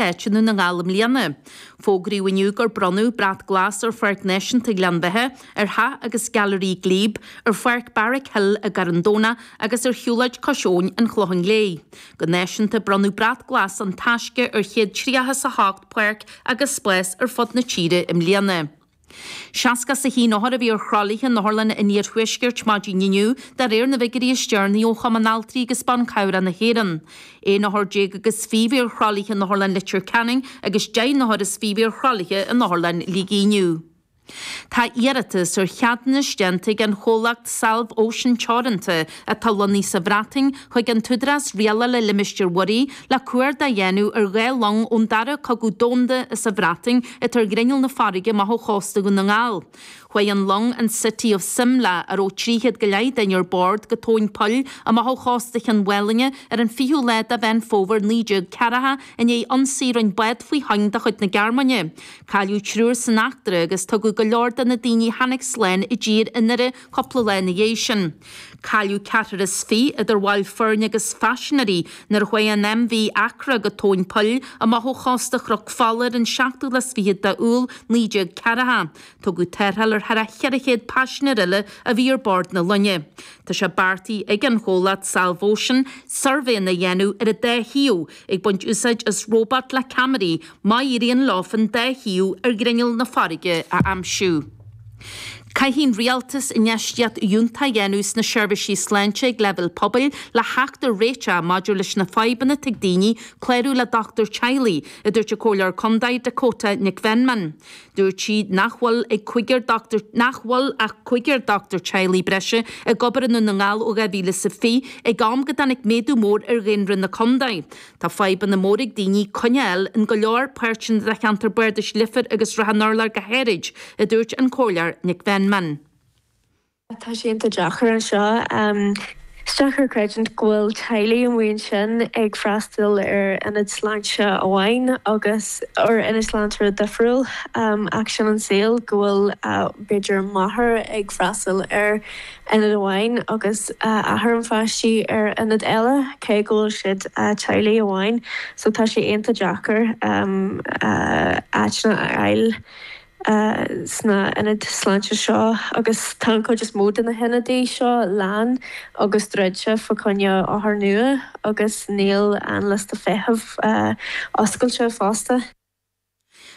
Áit i nDún na nGall i mbliana. Fógraíodh inniu gur bronnadh Brat Glas ar Pháirc Náisiúnta Ghleann Bheatha, ar Theach agus Gailearaí Glebe, ar Pháirc Barrack Hill i gCarn Domhnach agus ar Shiúlóid Cois Abhainn an Chlocháin Léith. Go náisiúnta, bronnadh Brat Glas An Taisce ar 138 páirc agus spás ar fud na tíre i mbliana. 61 othar a bhí ar thralaithe in otharlanna an iarthuaiscirt maidin inniu, de réir na bhfigiúirí is deireanaí ó Chumann Altraí agus Ban Cabhrach na hÉireann. 11 othar agus 20 a bhí ar thralaithe in Otharlann Leitir Ceanainn agus 10 n-othar is 20 a bhí ar thralaithe in Otharlann Shligigh inniu. Tá iarratas ar cheadúnas déanta ag an chomhlacht Salv Ocean Teoranta, atá lonnaithe sa Bhreatain, chuig an tÚdarás Rialála Limistéir Mhuirí le cuardach a dhéanamh ar 2 long ón Dara Cogadh Domhanda as an Bhreatain atá ar ghrinneall na farraige amach ó chósta Dhún na nGall. Chuaigh an long an City of Simla, a raibh 300 go leith duine ar bord, go tóin poill amach ó chósta Chionn Mhálanna ar an 20ú lá de Mheán Fómhair 1940 i ndiaidh ionsaí a rinne bád faoi thoinn de chuid na Gearmáine. Cailleadh triúr san eachtra agus tugadh go leor de na daoine a tháinig slán i dtír i nDoire cúpla lá ina dhiaidh sin. Cailleadh ceathrar is fiche, idir bhaill foirne agus phaisinéirí, nuair a chuaigh an MV Accra go tóin poill amach ó chósta Chnoc Fola ar an seachtú lá is fichead d'Iúil 1940. Tugadh tarrtháil ar thar a 400 paisinéir eile a bhí ar bord na loinge. Tá sé beartaithe ag an chomhlacht Salvocean suirbhéanna a dhéanamh ar an dá thaobh, ag baint úsáid as róbat le ceamaraí, má éiríonn leofa an dá thaobh ar ghrinneall na farraige a aimsiú. Caithfidh an Rialtas infheistíocht fhiúntach a dhéanamh sna seirbhísí sláinte ag leibhéal pobail le theacht ar réiteach maidir leis na fadhbanna atá ag daoine clárú le dochtúir teaghlaigh, a dúirt an Comhairleoir Contae Dakota Nic Mheanman. Dúirt sí nach bhfuil ag cúigear dochtúir nach bhfuil ach cúigear dochtúir teaghlaigh breise ag obair i nDún na nGall ó 2020, ag am go dtáinig méadú mór ar dhaonra na contae. Tá fadhbanna móra ag daoine coinne a fháil in go leor páirteanna de cheantar Bardais Leifear agus Srath an Urláir go háirid, a dúirt an Comhairleoir Nic Mheanman. Tá sé iontach deacair anseo. Is deacair creidiúint go bhfuil teaghlaigh amuigh ansin ag freastal ar ionad sláinte amháin agus ar ionad sláinte difriúil ach sin an saol, go bhfuil b'fhéidir máthair ag freastal ar ionad amháin agus athair an pháistí ar ionad eile, cé go bhfuil siad teaghlaigh amháin. So tá sé iontach deacair áiteanna a fháil sna ionaid sláinte seo agus tá an chuid is mó de na hionadaí seo lán agus druidte fá choinne othair nua agus níl an liosta feithimh oscailte fosta.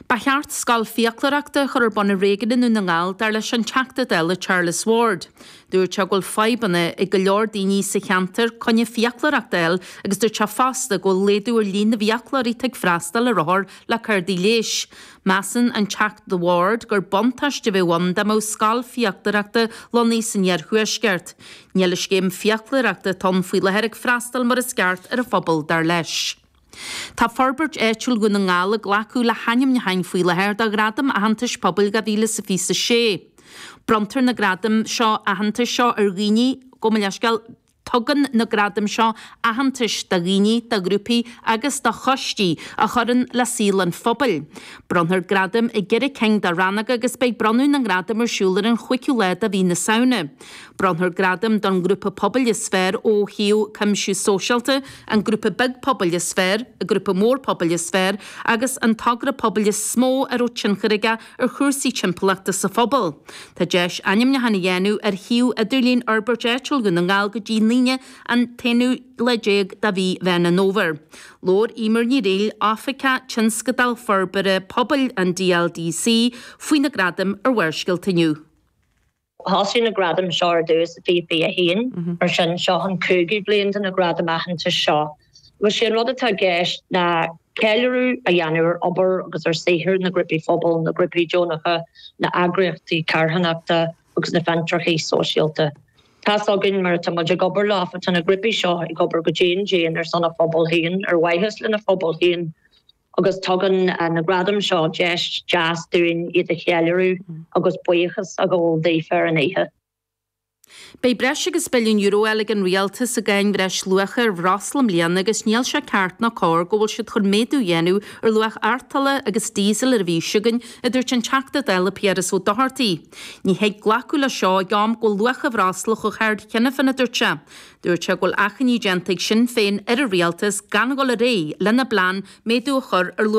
Ba cheart scoil fiaclóireachta a chur ar bun i réigiún i nDún na nGall, dar leis an Teachta Dála Charles Ward. Dúirt sé go bhfuil fadhbanna ag go leor daoine sa cheantar coinne fiaclóireachta a fháil agus dúirt sé fosta go bhfuil laghdú ar líon na bhfiaclóirí atá ag freastal ar othair le cártaí leighis. Measann an Teachta Ward gur buntáiste a bheadh ann dá mbeadh scoil fiaclóireachta lonnaithe san iarthuaisceart. Níl an scéim fiaclóireachta atá ann faoi láthair ag freastal mar is ceart ar an phobal, dar leis. Tá Forbairt Áitiúil Dhún na nGall ag glacadh le hainmniúcháin faoi láthair do Ghradaim Aitheantais Pobail 2026. Bronntar na gradaim seo aitheantais seo ar dhaoine, gabh mo leithscéal, tugann na gradaim seo aitheantais do dhaoine, do ghrúpaí agus do choistí a chuireann le saol an phobail. Bronnfar gradaim i gceithre cinn de rannóga agus beidh bronnadh na ngradam ar siúl ar an chúigiú lá de mhí na Samhna. Bronnfar gradam don ngrúpa pobail is fearr ó thaobh cuimsiú sóisialta, an grúpa beag pobail is fearr, an grúpa mór pobail is fearr agus an togra pobail is mó a raibh tionchar aige ar chúrsaí timpeallachta sa phobal. Tá deis ainmniúchán a dhéanamh ar shuíomh idirlín Fhorbairt Áitiúil Dhún na nGall go dtí an Aoine an t-aonú lá déag de mhí Mheán an Fhómhair. Labhair Eimear Ní Fhrighil, Oifigeach Tionscadail Forbartha Pobail an DLDC, faoi na gradaim ar Bharrscéalta inniu. Thosaigh na gradaim seo ar dtús i 2021, mar sin seo an cúigiú bliain de na gradaim aitheantais seo. Agus sé an rud atá i gceist ná ceiliúradh a dhéanamh ar obair agus ar saothar na ngrúpaí phobail, na grúpaí deonacha, na eagraíochtaí carthanachta agus na fiontracha sóisialta. Tá's againn mar atá muid ag obair leofa, tá na grúpaí seo ag obair go dian dian ar son a phobal féin, ar mhaithe lena phobal féin. agus tugann na gradaim seo deis deas dúinn iad a cheiliúradh agus buíochas a ghabháil daofa ar an oíche. Beidh breis agus billiún euro á fháil ag an Rialtas i gcáin bhreisluacha ar bhreosla i mbliana agus níl sé ceart ná cóir go bhfuil siad chun méadú a dhéanamh ar luach artola agus díosail ar an mhí seo chugainn, a dúirt an Teachta Dála Piaras Ó Dochartaigh. Ní thig glacadh le seo ag am go bhfuil luach an bhreosla chomh hard cheana féin, a dúirt sé. Dúirt sé go bhfuil achainí déanta ag Sinn Féin ar an Rialtas gan dhul ar aghaidh lena bplean méadú a chur ar luach.